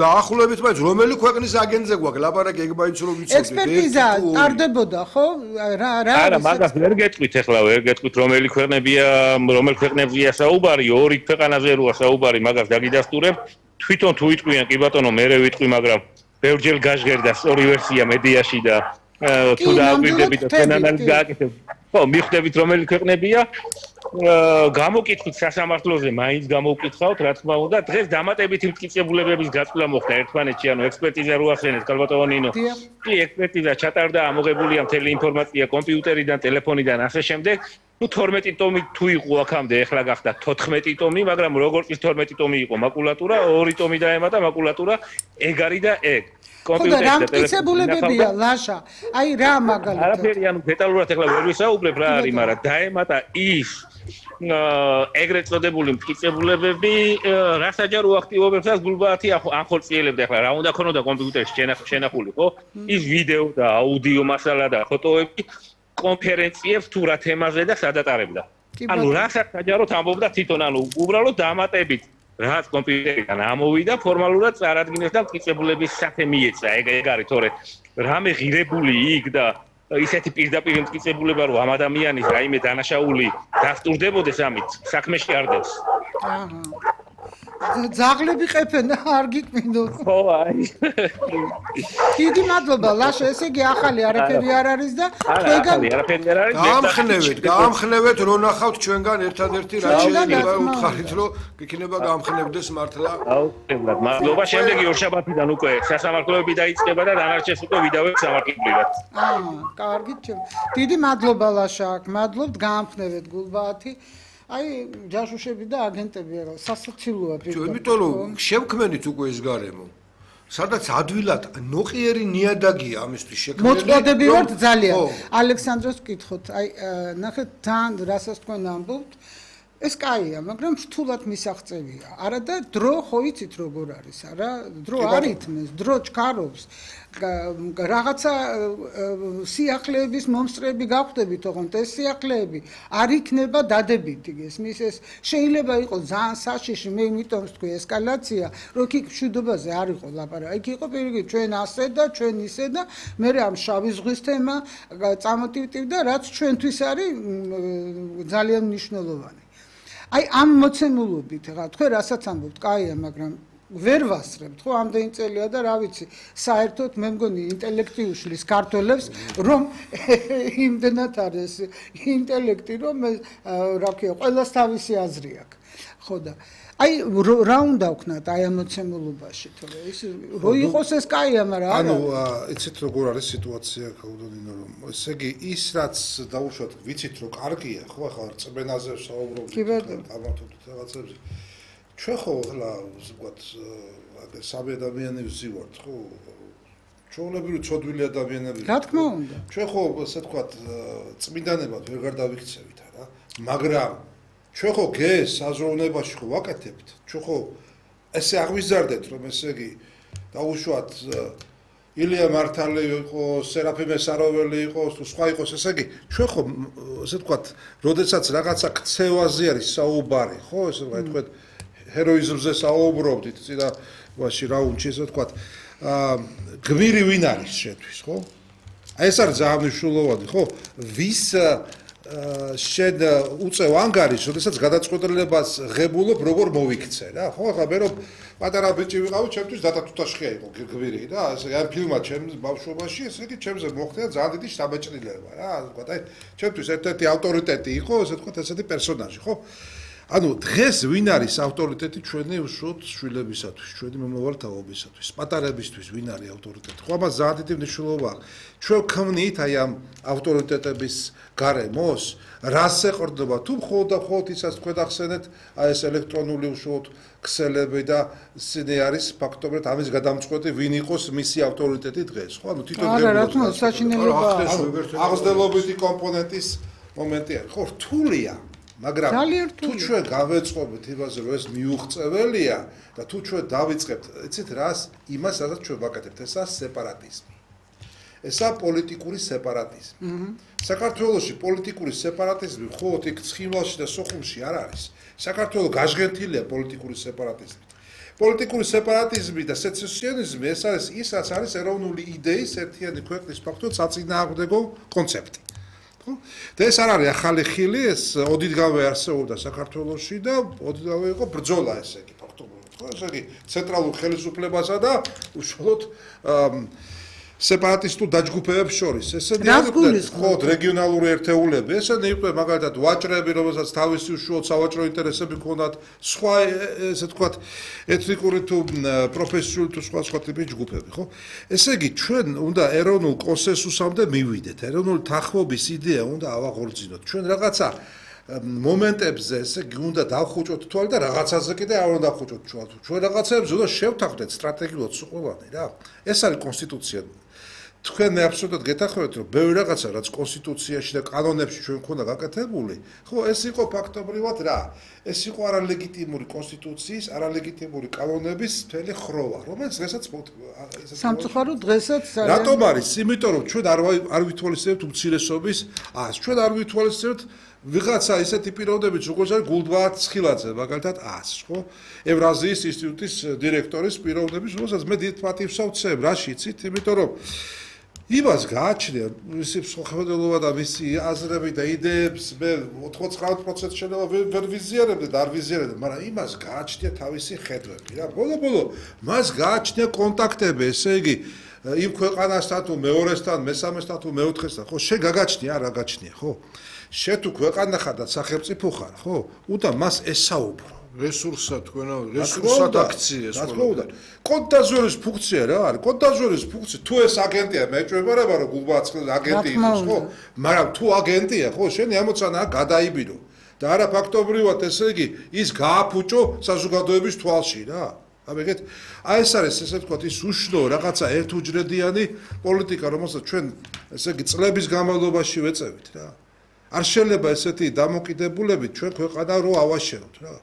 დაახლოებით მაინც რომელი ქვეყნის აგენტზე გვაქვს ლაპარაკი ეგ მაინც რომ ვიცოდეთ ექსპერტიზა ტარდებოდა ხო რა არა მაგას ვერ გეტყვით ახლა ვერ გეტყვით რომელი ქვეყნებია საუბარი ორი ქვეყანაზე როა საუბარი მაგას დაგიდასტურებ თვითონ თუ იტყვიან კი ბატონო მე ვიტყვი მაგრამ ბევრჯერ გაჟღერდა სწორი ვერსია მედიაში და თუ დააგვირდებით თქვენ ანალიზს გააკეთებთ ხო მიხვდებით რომელი ქვეყნებია გამოკითხვით სასამართლოზე მაინც გამოვკითხავთ რა თქმა უნდა დღეს დამატებითი მტკიცებულებების გაწვლა მოხდა ერთმანეთში ანუ ექსპერტიზა რო ახსენეთ ქალბატონო ნინო კი ექსპერტიზა ჩატარდა ამოღებულია მთელი ინფორმაცია კომპიუტერიდან ტელეფონიდან ასე შემდეგ ну 12 ტომი თუ იყო აქამდე ეხლა გახდა 14 ტომი მაგრამ როგორც ის 12 ტომი იყო მაკულატურა 2 ტომი დაემატა მაკულატურა ეგ არის და ეგ კომპიუტერი და მტკიცებულებებია ლაშა აი რა მაგალითად არაფერი ანუ დეტალურად ეხლა ვერ ვისაუბრებ რა არის მაგრამ დაემატა ის ეგრეთ წოდებული მტკიცებულებები რა საჯარო აქტივობებსაც გულბაათი ახორციელებდა ახლა რა უნდა ქონოდა კომპიუტერში შენახული ხო ის ვიდეო და აუდიო მასალა და ფოტოები კონფერენციებს თუ რა თემაზე და სადატარებდა ანუ რასაც საჯაროდ ამბობდა თვითონ ანუ უბრალოდ დამატებით რაც კომპიუტერიდან ამოვიდა ფორმალურად წარადგინეს და მტკიცებულების სახე მიეცა ეგ არის თორე რამე ღირებული იქ და ისეთი პირდაპირ მტკიცებულება რომ ამ ადამიანის რაიმე დანაშაული დასტურდებოდეს ამით საქმეში არ დევს ძაღლები ყეფენ არ გიკვინოთ ხო აი დიდი მადლობა ლაშა ესე იგი ახალი არაფერი არ არის და თქვენგან არაფერი არ არის გაამხნევეთ რო ნახავთ ჩვენგან ერთადერთი რა შეიძლება უთხარით რომ გიქნება გაამხნევდეს მართლა აუცილებლად მადლობა შემდეგი ორშაბათიდან უკვე სასამართლოები დაიწყება და დანარჩენს უკვე ვიდავებ სამართლებრივად კარგით დიდი მადლობა ლაშა მადლობთ გაამხნევეთ გულბაათი აი ჯაშუშები და აგენტები რა სასაცილოა პირდაპირ იმიტომ რომ შევქმენით უკვე ეს გარემო სადაც ადვილად ნოყიერი ნიადაგია ამისთვის შექმნილი მოწოდები ვართ ძალიან ალექსანდროს ვკითხოთ აი ნახეთ თან რასაც თქვენ ამბობთ ეს კაია მაგრამ რთულად მისაღწევია არა და დრო ხო იცით როგორ არის არა დრო არ ითმის დრო ჩქარობს რაღაცა სიახლეების მომსწრები გახვდებით ოღონდ ეს სიახლეები არ იქნება დადებითი გესმის ეს შეიძლება იყოს ძალიან საშიში მე იმიტომ ვთქვი ესკალაცია რომ იქ მშვიდობაზე არ იყო ლაპარაკი იქ იყო პირიქით ჩვენ ასე და ჩვენ ისე და მე ამ შავი ზღვის თემა წამოტივტივდა რაც ჩვენთვის არის ძალიან მნიშვნელოვანი აი ამ მოცემულობით რა თქვენ რასაც ამბობთ კაია მაგრამ ვერ ვასწრებთ ხო ამდენი წელია და რა ვიცი საერთოდ მე მგონი ინტელექტი უშლის ქართველებს რომ იმდენად არის ინტელექტი რომ რა ქვია ყველას თავისი აზრი აქვს ხო და აი რა უნდა ვქნათ აი ამ მოცემულობაში თორე ის რო იყოს ეს კაია მაგრამ ანუ იცით როგორ არის სიტუაცია ქაუდონინო რომ ესე იგი ის რაც დაუშვათ ვიცით რომ კარგია ხო ახლა რწმენაზე საუბრობთ ამათობით რაღაცებზე ჩვენ ხო ახლა ვთქვათ სამი ადამიანი ვზივართ ხო ჩვეულებრივი ცოდვილი ადამიანები რა თქმა უნდა ჩვენ ხო ასე ვთქვათ წმინდანებად ვეღარ დავიქცევით რა მაგრამ ჩვენ ხო გეს საზროვნებაში ხო ვაკეთებთ ჩვენ ხო ესე აღვიზარდეთ რომ ესე იგი დაუშვათ ილია მართალი იყო სერაფიმე საროველი იყო თუ სხვა იყოს ესე იგი ჩვენ ხო ასე ვთქვათ როდესაც რაღაცა ქცევაზე არის საუბარი ხო ესე ვთქვათ ჰეროიზმზე საუბრობდით წინა ვაში რა უნდა ესე ვთქვათ გმირი ვინ არის შენთვის ხო აი ეს არის ძალიან მნიშვნელოვანი ხო ვის შენ უწევ ანგარიშს როდესაც გადაწყვეტილებას ღებულობ როგორ მოვიქცე რა ხო ახლა მე რომ პატარა ბიჭი ვიყავი ჩემთვის დატათუთაშხია იყო გმირი და ასე ამ ფილმმა ჩემს ბავშვობაში ესე იგი ჩემზე მოხდა ძალიან დიდი შთაბეჭდილება რა ასე ვთქვათ აი ჩემთვის ერთ-ერთი ავტორიტეტი იყო ასე ვთქვათ ესეთი პერსონაჟი ხო ანუ დღეს ვინ არის ავტორიტეტი ჩვენი უშუალოდ შვილებისათვის, ჩვენი მომავალთაობისათვის, პატარებისთვის ვინ არის ავტორიტეტი? ხო, ამას ძალიან დიდი მნიშვნელობა აქვს. ჩვენ ქმნით აი ამ ავტორიტეტების გარემოს, რას ეყრდნობა? თუ მხოლოდ და მხოლოდ ისაც თქვენ ახსენეთ, აი ეს ელექტრონული უშუალოდ ქსელები და სინე არის ფაქტობრივად ამის გადამწყვეტი ვინ იყოს მისი ავტორიტეტი დღეს, ხო? ანუ თვითონ არა, რა თქმა უნდა, საჩინელობა აღზრდელობითი კომპონენტის მომენტი არის. ხო, რთულია მაგრამ თუ ჩვენ გავეწყობთ იმაზე რომ ეს მიუღწეველია და თუ ჩვენ დავიწყებთ იცით რას იმას სადაც ჩვენ ვაკეთებთ ესა სეპარატიზმი ესა პოლიტიკური სეპარატიზმი საქართველოში პოლიტიკური სეპარატიზმი მხოლოდ იქ ცხინვალში და სოხუმში არ არის საქართველო გაჟღერტილია პოლიტიკური სეპარატიზმით პოლიტიკური სეპარატიზმი და სეცესიონიზმი ეს არის ის, რაც არის ეროვნული იდეის ერთიანი ქვეყნის ფაქტობრივად საწინააღმდეგო კონცეფტი. ხო? და ეს არ არის ახალი ხილი, ეს ოდითგანვე არსებობდა საქართველოში და ოდითგანვე იყო ბრძოლა ესე იგი ფაქტობრივად. ხო? ესე იგი ცენტრალურ ხელისუფლებასა და უშუალოდ სეპარატისტულ დაჯგუფებებს შორის. ესენი იყო რეგიონალური ერთეულები, ესენი იყო მაგალითად ვაჭრები, რომელსაც თავისი უშუალოდ სავაჭრო ინტერესები ჰქონდათ, სხვა ესე თქვათ ეთნიკური თუ პროფესიული თუ სხვა ტიპის ჯგუფები, ხო? ესე იგი ჩვენ უნდა ეროვნულ კონსენსუსამდე მივიდეთ. ეროვნული თანხმობის იდეა უნდა ავაღორძინოთ. ჩვენ რაღაცა მომენტებზე ესე იგი უნდა დავხუჭოთ თვალ და რაღაცაზე კიდე არ უნდა დავხუჭოთ თვალ. ჩვენ რაღაცებს უნდა შევთანხმდეთ სტრატეგიულად სუყოვანი რა. ეს არის კონსტიტუცია. თქვენ აბსოლუტურად გეთახმებით რომ ბევრი რაღაცა რაც კონსტიტუციაში და კანონებში ჩვენ მქონდა გაკეთებული, ხო, ეს იყო ფაქტობრივად რა? ეს იყო არალეგიტიმური კონსტიტუციის, არალეგიტიმური კანონების მთელი ხროვა, რომელიც დღესაც სამწუხაროდ დღესაც რატომ არის? იმიტომ რომ ჩვენ არ ვითვალისწინებთ უმცირესობის ას, ჩვენ არ ვითვალისწინებთ ვიღაცა ისეთი პიროვნებიც როგორც არის გულდბაათ ცხილაძე, მაგალითად ას, ხო? ევრაზიის ინსტიტუტის დირექტორის პიროვნების, რომელსაც მე დიდ პატივს ავცემ, რაში იცით? იმიტომ რომ იმას გააჩნია მისი მსხვერპლობა და მისი აზრები და იდეებს მე 99% შეიძლება ვერ ვიზიარებდი და არ ვიზიარებდი, მაგრამ იმას გააჩნია თავისი ხედვები რა. ბოლო მას გააჩნია კონტაქტები, ესე იგი იმ ქვეყანასთან თუ მეორესთან, მესამესთან თუ მეოთხესთან, ხო? შენ გაგაჩნია, არ გაგაჩნია, ხო? შენ თუ ქვეყანა ხარ და სახელმწიფო ხარ, ხო? უნდა მას ესაუბრო. რესურსად თქვენა რესურსად აქცია ეს ყველა. კონტაზვერის ფუნქცია რა არის? კონტაზვერის ფუნქცია თუ ეს აგენტია მეჭვებარება რომ გულბაცხლის აგენტი იყოს, ხო? მაგრამ თუ აგენტია, ხო, შენი ამოცანაა გადაიბირო. და არა ფაქტობრივად ესე იგი ის გააფუჭო საზოგადოების თვალში რა. ამეგეთ აი ეს არის ესე ვთქვათ ის უშნო რაღაცა ერთუჯრედიანი პოლიტიკა, რომელსაც ჩვენ ესე იგი წლების განმავლობაში ვეწევით რა. არ შეიძლება ესეთი დამოკიდებულები ჩვენ ქვეყანა რო ავაშენოთ რა.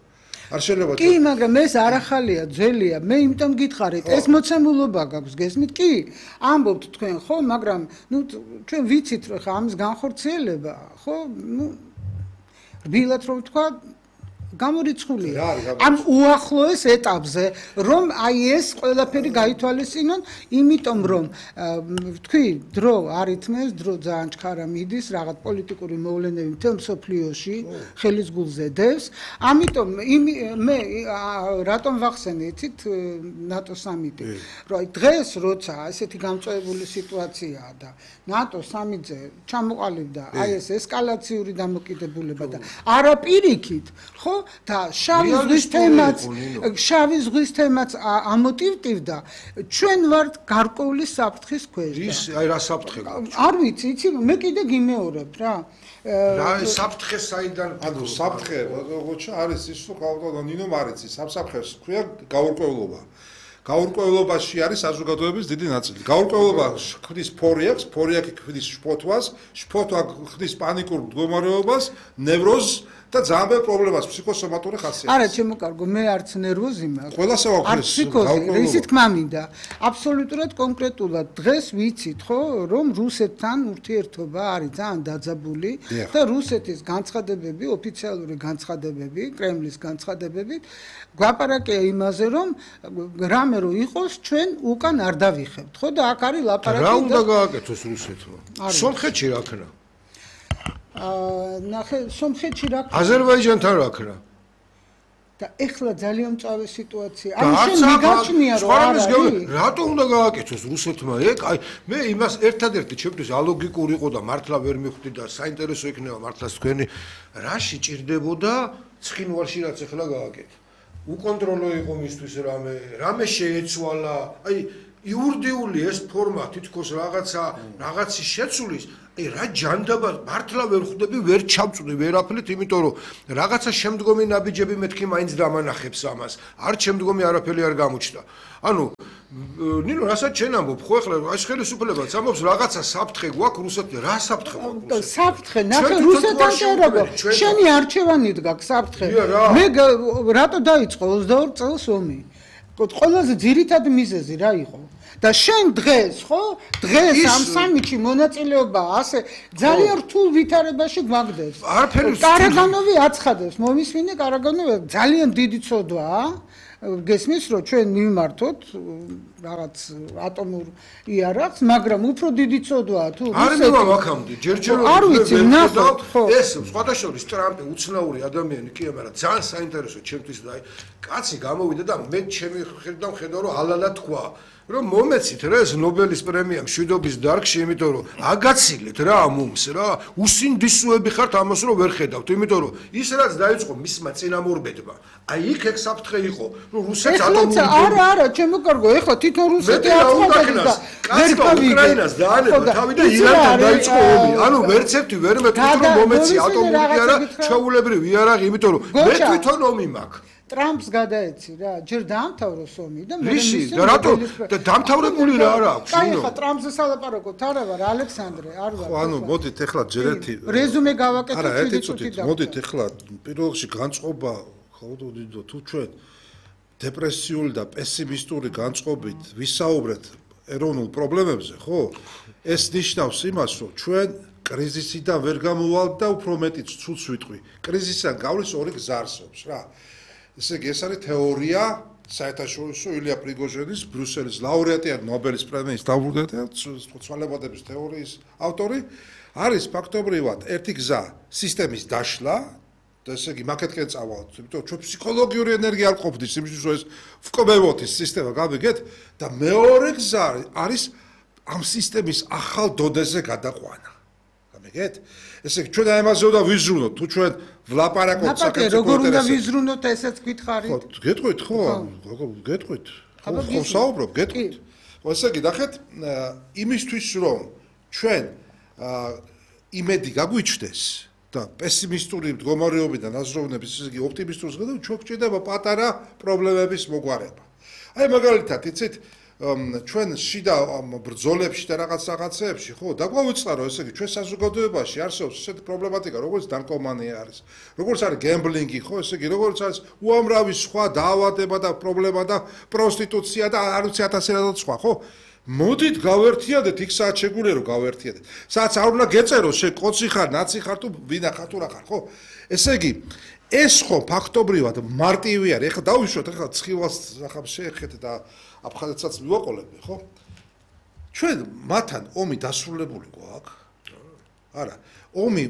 არ შეიძლება კი, მაგრამ ეს არ ახალია, ძველია. მე იმიტომ გითხარით, ეს მოცემულობა გაქვს, გესმით? კი, ამბობთ თქვენ, ხო, მაგრამ ნუ ჩვენ ვიცით რომ ხა ამის განხორციელება, ხო, ნუ რბილად რომ ვთქვა გამორიცხულია. ამ უახლოეს ეტაპზე, რომ აი ეს ყველაფერი გაითვალისწინონ, იმიტომ რომ თქვი, დრო არ ითმეს, დრო ძალიან ჩქარა მიდის, რაღაც პოლიტიკური მოვლენები მთელ მსოფლიოში ხელის გულზე დევს. ამიტომ მე რატომ ვახსენე, იცით, ნატო სამიტი, რომ დღეს როცა ესეთი გამწვევებული სიტუაციაა და ნატო სამიტზე ჩამოყალიბდა აი ეს ესკალაციური დამოკიდებულება და არაპირიქით, ხო? და შავი ზღვის თემაც ამოტივტივდა, ჩვენ ვართ გარკვეული საფრთხის ქვეშ. ის აი რა საფრთხე გაქვს? არ ვიცი, იცი, მე კიდე გიმეორებ რა. რა საფრთხე საიდან? ანუ საფრთხე, როგორც არის ის რომ გავდო ნინომ არ იცი, საფრთხეს ქვია გაურკვევლობა. გაურკვევლობაში არის საზოგადოების დიდი ნაწილი. გაურკვევლობა ხდის ფორიაქს, ფორიაქი ხდის შფოთვას, შფოთვა ხდის პანიკურ მდგომარეობას, ნევროზს და ძალიან ბევრ პრობლემას ფსიქოსომატური ხასიათის. არა, ჩემო კარგო, მე არც ნერვოზი მაქვს. ყველასა აქვს ეს ფსიქოზი, ისი თქმა მინდა. აბსოლუტურად კონკრეტულად დღეს ვიცით, ხო, რომ რუსეთთან ურთიერთობა არის ძალიან დაძაბული და რუსეთის განცხადებები, ოფიციალური განცხადებები, კრემლის განცხადებები გვაპარაკია იმაზე, რომ რამე რო იყოს, ჩვენ უკან არ დავიხებთ, ხო და აქ არის ლაპარაკი. რა უნდა გააკეთოს რუსეთმა? სომხეთში რა ქნა? ნახე, სომხეთში რა ქნა? აზერბაიჯანთან რა ქნა? და ეხლა ძალიან მწვავე სიტუაცია. აი შენ მიგაჩნია რომ არა. რატო უნდა გააკეთოს რუსეთმა ეგ? აი მე იმას ერთადერთი ჩემთვის ალოგიკური იყო და მართლა ვერ მივხვდი და საინტერესო იქნება მართლაც თქვენი რაში ჭირდებოდა ცხინვალში რაც ეხლა გააკეთე. უკონტროლო იყო მისთვის რამე შეეცვალა. აი იურდიული ეს ფორმა თითქოს რაღაცის შეცვლის, აი რა ჯანდაბა მართლა ვერ ხვდები, ვერ ჩავწვდი ვერაფრით, იმიტომ რომ რაღაცა შემდგომი ნაბიჯები მეთქი მაინც დამანახებს ამას. არ შემდგომი არაფერი არ გამოჩნდა. ანუ ნინო, რასაც შენ ამბობ, ხო ეხლა ეს ხელისუფლებაც ამბობს რაღაცა საფრთხე გვაქვს რუსეთთან, რა საფრთხე გვაქვს? საფრთხე, ნახე რუსეთთან წერობა. შენი არჩევანით გაქვს საფრთხე. მე რატო დაიწყო 22 წელს ომი? ყველაზე ძირითადი მიზეზი რა იყო? და შენ დღეს, ხო? დღეს ამ სამიტში მონაწილეობა ასე ძალიან რთულ ვითარებაში გვაგდებს. არაფერი კარაგანოვი აცხადებს, მომისმინე კარაგანოვი ძალიან დიდი ცოდვაა. გესმის რომ ჩვენ მივმართოთ რაღაც ატომურ იარაღს, მაგრამ უფრო დიდი წოდვაა თუ არ მივა აქამდე, ჯერჯერობით არ ვიცი, ნახოთ, ხო. ეს სხვადასხვა ტრამპი უცნაური ადამიანი კი, მაგრამ ძალიან საინტერესო ჩემთვის და კაცი გამოვიდა და მე ჩემი ხედავ რომ ალალა თქვა რომ მომეცით რა ეს ნობელის პრემია მშვიდობის დარგში, იმიტომ რომ აგაცილეთ რა ამums რა, უსინდისოები ხართ ამას რომ ვერ ხედავთ, იმიტომ რომ ის რაც დაიწყო მისმა წინამორბედმა, აი იქ ეგ საფრთხე იყო, რომ რუსეთს ატომური არა, ჩემო კარგო, ეხლა თვითონ რუსეთი აწყობდა და ვერ უკრაინას დაანება თავი და ირანთან დაიწყო ომი. ანუ ვერც ერთი ვერ მეთქვით რომ მომეცი ატომური იარაღი, ჩვეულებრივი იარაღი, იმიტომ რომ მე თვითონ ომი მაქვს. ტრამპს გადაეცი რა, ჯერ დაამთავროს ომი და მე ვისი და რატო და დამთავრებული რა არა აქვს? კაი, ხა ტრამპზე სალაპარაკოთ, არა ვარ, ალექსანდრე, არ ვარ. ხო, ანუ მოდით ახლა ჯერ ერთი რეზუმე გავაკეთოთ არა, ერთი წუთით, მოდით ახლა პირველ რიგში განწყობა, ხო, თუ ჩვენ დეპრესიული და პესიმისტური განწყობით ვისაუბრეთ ეროვნულ პრობლემებზე, ხო? ეს ნიშნავს იმას, რომ ჩვენ კრიზისიდან ვერ გამოვალთ და უფრო მეტიც ცუდს ვიტყვი. კრიზისიდან გავლის ორი გზა არსებობს რა. ესე იგი, ეს არის თეორია საერთაშორისო ილია პრიგოჟინის ბრიუსელის ლაურეატი არის ნობელის პრემიის დამფუძნებელი ცვალებადობის თეორიის ავტორი. არის ფაქტობრივად ერთი გზა სისტემის დაშლა და ესე იგი მაკეთკენ წავალთ, იმიტომ რომ ჩვენ ფსიქოლოგიური ენერგია არ ყოფნის იმისთვის რომ ეს ვკობევოთ ის სისტემა გავიგეთ და მეორე გზა არის ამ სისტემის ახალ დონეზე გადაყვანა. გამიგეთ? ესე იგი ჩვენ ამაზე უნდა ვიზრუნოთ, თუ ჩვენ ვლაპარაკობთ საქართველოს როგორ უნდა ვიზრუნოთ, ესეც გითხარით? ხო, გეტყვით ხო? გეტყვით. ხო, საუბრობ, გეტყვით. ხო, ესე იგი, ნახეთ, იმისთვის რომ ჩვენ იმედი გაგვიჩნდეს და პესიმისტური მდგომარეობიდან აზროვნების, ესე იგი, ოპტიმისტურს გადავ, ჩვენ გვჭირდება პატარა პრობლემების მოგვარება. აი, მაგალითად, იცით, ჩვენ შიდა ბრძოლებში და რაღაცეებში, ხო, დაგვავიწყარო, ესე იგი, ჩვენ საზოგადოებაში არსებობს ესეთი პრობლემატიკა, როგორც ნარკომანია არის, როგორც არის გემბლინგი, ხო, ესე იგი, როგორც არის უამრავი სხვა დაავადება და პრობლემა და პროსტიტუცია და არ ვიცი 1000 რადაც სხვა, ხო? მოდით გავერთიადეთ იქ საათ შეგვიძლია რომ გავერთიადეთ. საათ არ უნდა გეწეროს, შე კოცი ხარ, ნაცი ხარ თუ ვინა ხარ თუ რა ხარ, ხო? ესე იგი, ეს ხო ფაქტობრივად მარტივი არის. ეხლა დავიშვათ, ეხლა ცხილას ახლა შეეხეთ და აფხაზეთსაც მივაყოლებდი, ხო? ჩვენ მათთან ომი დასრულებული გვაქვს? არა. ომი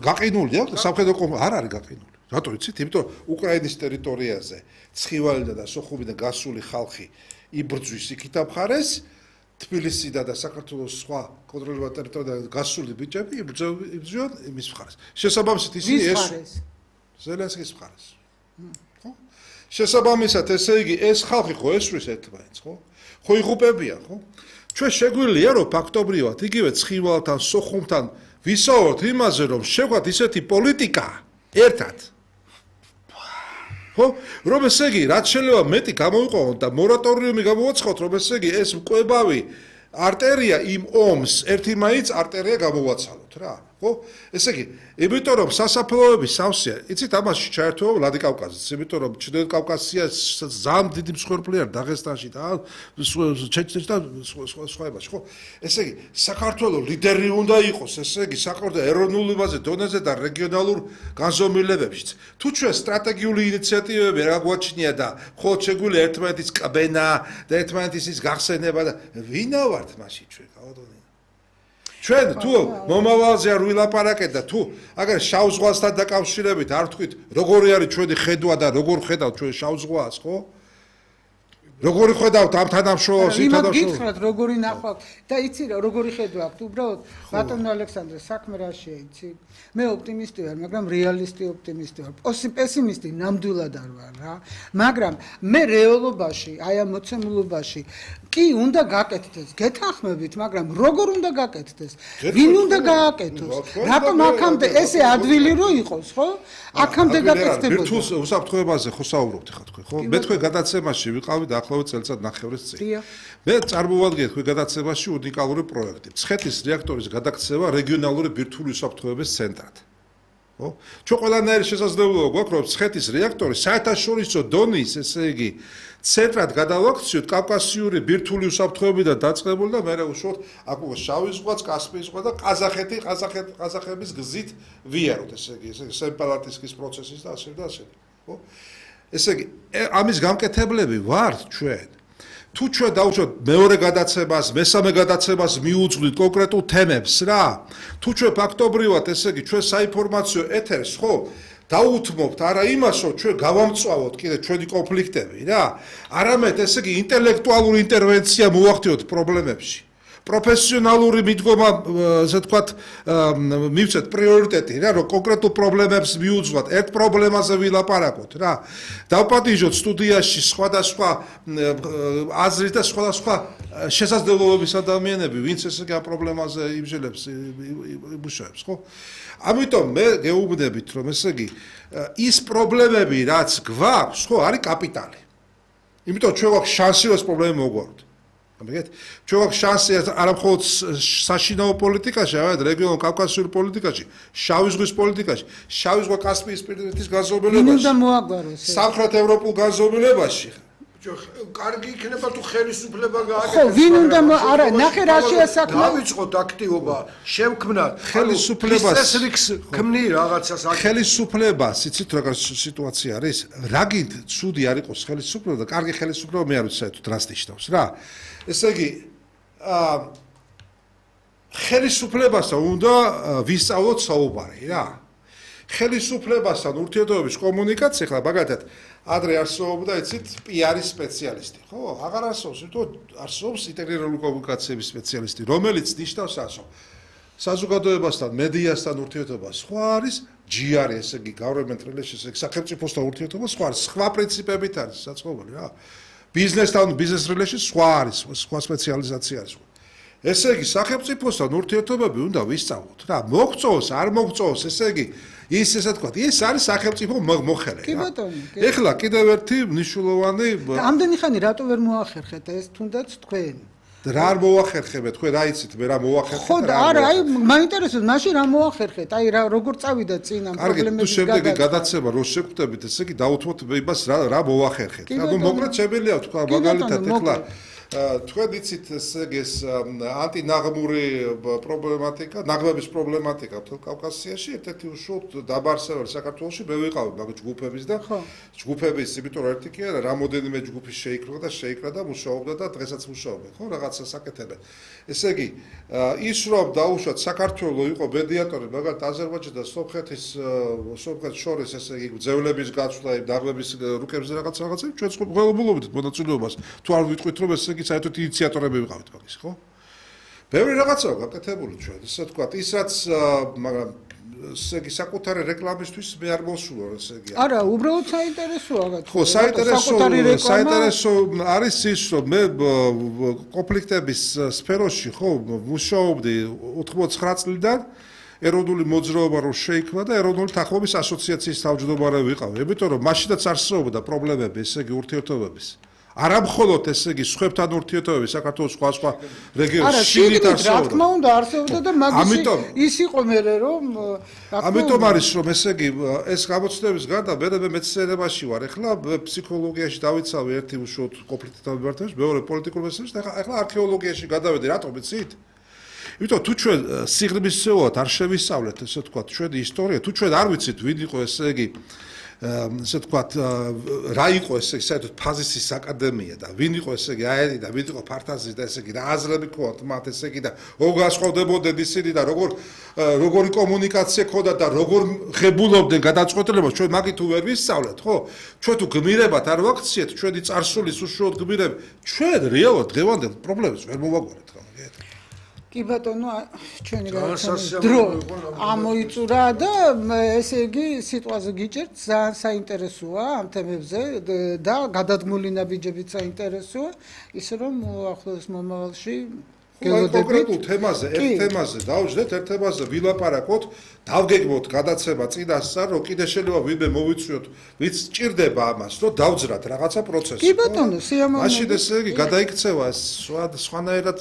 გაყინულია, სამხედრო ომი არ არის გაყინული. რატო იცით? იმიტომ რომ უკრაინის ტერიტორიაზე ცხივალიდან და სოხუმიდან გასული ხალხი იბრძვის იქითა მხარეს, თბილისიდან და საქართველოს სხვა კონტროლირებად ტერიტორიიდან გასული ბიჭები იბრძვიან იმის მხარეს. შესაბამისად ისინი ეს ზელენსკის მხარეს. ხო? შესაბამისად, ესე იგი, ეს ხალხი ხო ესვრის ერთმანეთს, ხო? ხო იღუპებიან, ხო? ჩვენ შეგვიძლია რომ ფაქტობრივად იგივე ცხივალთან, სოხუმთან ვისაუბროთ იმაზე, რომ შევქოთ ისეთი პოლიტიკა ერთად. ხო? რომ ესე იგი, რაც შეიძლება მეტი გამოვიყვანოთ და მორატორიუმი გამოვაცხოთ, რომ ესე იგი, ეს მკვებავი არტერია იმ ომს ერთი მაინც არტერია გამოვაცალოთ რა. ხო? ესე იგი, იმიტომ რომ სასაფლაოების სავსეა, იცით ამაში ჩაერთვება ვლადიკავკაზიც, იმიტომ რომ ჩრდილოეთ კავკასია ძალიან დიდი მსხვერპლი არის დაღესტანში და ჩეჩნეთში და სხვაებაში, ხო? ესე იგი, საქართველოს ლიდერი უნდა იყოს, ესე იგი, საკუთარ ეროვნულ დონეზე და რეგიონალურ განზომილებებშიც. თუ ჩვენ სტრატეგიული ინიციატივები რა გვაჩნია და ხო შეგვიძლია ერთმანეთის კბენა და ერთმანეთის გახსენება და ვინა ვართ მაშინ ჩვენ, გავადონე. ჩვენ თუ მომავალზე არ ვილაპარაკეთ და თუ აგერ შავ ზღვასთან დაკავშირებით არ ვთქვით როგორი არის ჩვენი ხედვა და როგორ ხედავთ ჩვენ შავ ზღვას, ხო? როგორი ხედავთ ამ თანამშრომლობას, თანამშრომლობას? გითხრათ როგორი ნახავთ და იცი რა როგორი ხედვა აქვს უბრალოდ ბატონო ალექსანდრე საქმე რაშია იცი? მე ოპტიმისტი ვარ, მაგრამ რეალისტი ოპტიმისტი ვარ. პესიმისტი ნამდვილად არ ვარ რა. მაგრამ მე რეალობაში, აი ამ მოცემულობაში კი უნდა გაკეთდეს, გეთანხმებით, მაგრამ როგორ უნდა გაკეთდეს? ვინ უნდა გააკეთოს? რატომ აქამდე ესე ადვილი რო იყოს, ხო? აქამდე გაკეთდებოდა. ვირტუალ უსაფრთხოებაზე ხო საუბრობთ ხა თქვენ, ხო? მე თქვენ გადაცემაში ვიყავი დაახლოებით წელიწად ნახევრის წინ. მე წარმოვადგინეთ თქვენ გადაცემაში უნიკალური პროექტი. ცხეთის რეაქტორის გადაქცევა რეგიონალური ბირთვული უსაფრთხოების ცენტრად. ხო? ჩვენ ყველანაირი შესაძლებლობა გვაქვს, რომ ცხეთის რეაქტორი საერთაშორისო დონის, ესე იგი, ცენტრად გადავაქციოთ კავკასიური ბირთვული უსაფრთხოებიდან დაწყებული და მერე უშუალოდ აქ შავი ზღვაც, კასპიის ზღვა და ყაზახების გზით ვიაროთ, ესე იგი, სეპარატისტის პროცესის და ასე და ასე. ხო? ესე იგი, ამის გამკეთებლები ვართ ჩვენ. თუ ჩვენ დავუშვათ მეორე გადაცემას, მესამე გადაცემას მიუძღვით კონკრეტულ თემებს რა. თუ ჩვენ ფაქტობრივად, ესე იგი, ჩვენ საინფორმაციო ეთერს ხო დაუთმობთ არა იმას, რომ ჩვენ გავამწვავოთ კიდე ჩვენი კონფლიქტები რა, არამედ ესე იგი ინტელექტუალური ინტერვენცია მოვახდინოთ პრობლემებში. პროფესიონალური მიდგომა, ასე ვთქვათ, მივცეთ პრიორიტეტი რა, რომ კონკრეტულ პრობლემებს მიუძღვათ, ერთ პრობლემაზე ვილაპარაკოთ რა. დავპატიჟოთ სტუდიაში სხვადასხვა აზრის და სხვადასხვა შესაძლებლობების ადამიანები, ვინც ესე იგი ამ პრობლემაზე იმჟელებს, იმუშავებს, ხო? ამიტომ მე გეუბნებით, რომ ესე იგი ის პრობლემები, რაც გვაქვს, ხო, არის კაპიტალი. იმიტომ ჩვენ გვაქვს შანსი, რომ ეს პრობლემა მოგვაროთ. ამიგეთ? ჩვენ გვაქვს შანსი არა მხოლოდ საშინაო პოლიტიკაში, არამედ რეგიონულ კავკასიურ პოლიტიკაში, შავი ზღვის პოლიტიკაში, შავი ზღვა კასპიისპირეთის განზომილებაში. უნდა მოაგვაროს. სამხრეთ ევროპულ განზომილებაში. კარგი იქნება თუ ხელისუფლება გააკეთებს. ხო, ვინ უნდა არა, ნახე რა შეასაქმე. დავიწყოთ აქტივობა, შევქმნათ ხელისუფლებას ქმნი რაღაცას. ხელისუფლებას, იცით რა სიტუაცია არის? რა გინდ ცუდი არ იყოს ხელისუფლება და კარგი ხელისუფლება მე არ ვიცი საერთოდ რას ნიშნავს რა. ესე იგი, ხელისუფლებასთან უნდა ვისწავლოთ საუბარი რა. ხელისუფლებასთან ურთიერთობების კომუნიკაცია, ხლა მაგალითად, ადრე არსებობდა, იცით, PR-ის სპეციალისტი, ხო? აღარ არსებობს, იმიტომ არსებობს ინტეგრირებული კომუნიკაციების სპეციალისტი, რომელიც ნიშნავს ასე, რომ საზოგადოებასთან, მედიასთან ურთიერთობა სხვა არის, GR, ესე იგი, government relations, სახელმწიფოსთან ურთიერთობა სხვა არის, სხვა პრინციპებით არის საწყობილი რა. ბიზნესთან, business relations სხვა არის, სხვა სპეციალიზაცია არის. ესე იგი, სახელმწიფოსთან ურთიერთობები უნდა ვისწავლოთ რა. მოგწოვს, არ მოგწოვს, ესე იგი, ის ესე თქვა, ეს არის სახელმწიფო მოხელე რა. კი ბატონო. ეხლა კიდევ ერთი მნიშვნელოვანი ამდენი ხანი რატო ვერ მოახერხეთ ეს თუნდაც თქვენ? რა არ მოახერხებთ, თქვენ რა იცით, მე რა მოახერხეთ? ხო, არა, აი მაინტერესებს, მაშინ რა მოახერხეთ? აი რა როგორ წავიდა წინ ამ პრობლემების გადაცემა? შემდეგი გადაცემა რო შევხვდებით, ესე იგი დავუთმოთ იმას რა მოახერხეთ. ანუ მოკლედ შემიძლია თქვა მაგალითად ეხლა თქვენ იცით ეს ანტინაღმური პრობლემატიკა, ნაღმების პრობლემატიკა კავკასიაში ერთ-ერთი უშუალოდ დაბარსებული საქართველოში მე ვიყავი მაგ ჯგუფების და ჯგუფების, იმიტომ რომ ერთი კი არა, რამოდენიმე ჯგუფი შეიკრა და მუშაობდა და დღესაც მუშაობენ, ხო, რაღაცა საკეთებენ. ესე იგი, ის რომ დაუშვათ საქართველოს იყო მედიატორი, მაგალითად აზერბაიჯანი და სომხეთის შორის ესე იგი ძევლების გაცვლა, ნაღმების რუკებზე რაღაცა, ჩვენ ყველგულობით მონაწილეობას თუ არ ვიტყვით რომ ესე იგი საერთოდ ინიციატორები ვიყავით მაგის, ხო? ბევრი რაღაცაა გაკეთებული ჩვენ, ესე ვთქვათ, ის რაც მაგრამ ესე იგი საკუთარი რეკლამისთვის მე არ მოსულა, ესე იგი. არა, უბრალოდ საინტერესოა რა. ხო, საინტერესო არის ის, რომ მე კონფლიქტების სფეროში, ხო, მუშაობდი 89 წლიდან ეროვნული მოძრაობა რო შეიქმნა და ეროვნული თანხმობის ასოციაციის თავმჯდომარე ვიყავი. იმიტომ რომ მაშინაც არსებობდა პრობლემები, ესე იგი ურთიერთობების. არა მხოლოდ ესე იგი სხვებთან ურთიერთობები საქართველოს სხვა რეგიონებში შიგნით არსებობდა. რა თქმა უნდა არსებობდა და მაგის ის იყო მე რომ ამიტომ არის რომ ესე იგი ეს გამოცდილების გარდა მე მეცნიერებაში ვარ. ეხლა ფსიქოლოგიაში დავიცავი ერთი უშუალოდ კონფლიქტთან მიმართებაში, მეორე პოლიტიკურ მეცნიერებაში და ეხლა არქეოლოგიაში გადავედი, რატომ იცით? იმიტომ თუ ჩვენ სიღრმისეულად არ შევისწავლეთ, ესე ვთქვათ, ჩვენი ისტორია, თუ ჩვენ არ ვიცით ვინ იყო ესე იგი ესე ვთქვათ, რა იყო ესე იგი საერთოდ ფაზისის აკადემია და ვინ იყო ესე იგი აერი და ვინ იყო ფართაზის და ესე იგი რა აზრები ქონდათ მათ ესე იგი და როგორ გასხოვდებოდნენ ისინი და როგორი კომუნიკაცია ქონდათ და როგორ ღებულობდნენ გადაწყვეტილებას ჩვენ მაგით თუ ვერ ვისწავლეთ, ხო? ჩვენ თუ გმირებად არ ვაქციეთ ჩვენი წარსულის უშუალოდ გმირები, ჩვენ რეალურად დღევანდელ პრობლემებს ვერ მოვაგვარეთ რა. კი ბატონო, ჩვენი დრო ამოიწურა და ესე იგი სიტყვაზე გიჭერთ, ძალიან საინტერესოა ამ თემებზე და გადადგმული ნაბიჯებით საინტერესოა, ისე რომ ახლოს მომავალში კონკრეტულ თემაზე, ერთ თემაზე დავждეთ, ერთ თემაზე ვილაპარაკოთ, დავგეგმოთ გადაცემა წინასწარ, რომ კიდე შეიძლება ვინმე მოვიწვიოთ, ვინც ჭირდება ამას, რომ დავძრათ რაღაცა პროცესი. კი ბატონო, სიამოვნებით. მაშინ ესე იგი გადაიქცევა სხვანაირად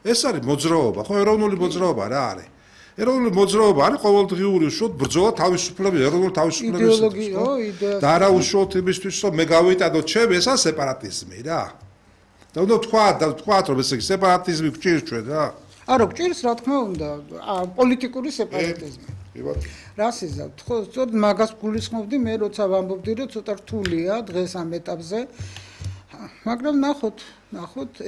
ეს არის მოძრაობა, ხო, ეროვნული მოძრაობა რა არის? ეროვნული მოძრაობა არის ყოველდღიური უშუალოდ ბრძოლა თავისუფლების, ეროვნული თავისუფლებისთვის, ხო? და არა უშუალოდ იმისთვის, რომ მე გავიტანო ჩემი ესა სეპარატიზმი რა. და უნდა თქვათ, რომ ესე იგი სეპარატიზმი გვჭირს ჩვენ რა. არა, გვჭირს რა თქმა უნდა, პოლიტიკური სეპარატიზმი. რას იზავთ? ხო, სწორედ მაგას გულისხმობდი მე, როცა ვამბობდი, რომ ცოტა რთულია დღეს ამ ეტაპზე. მაგრამ ნახოთ,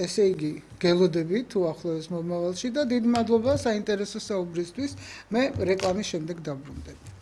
ესე იგი, გელოდებით უახლოეს მომავალში და დიდი მადლობა საინტერესო საუბრისთვის. მე რეკლამის შემდეგ დაბრუნდები.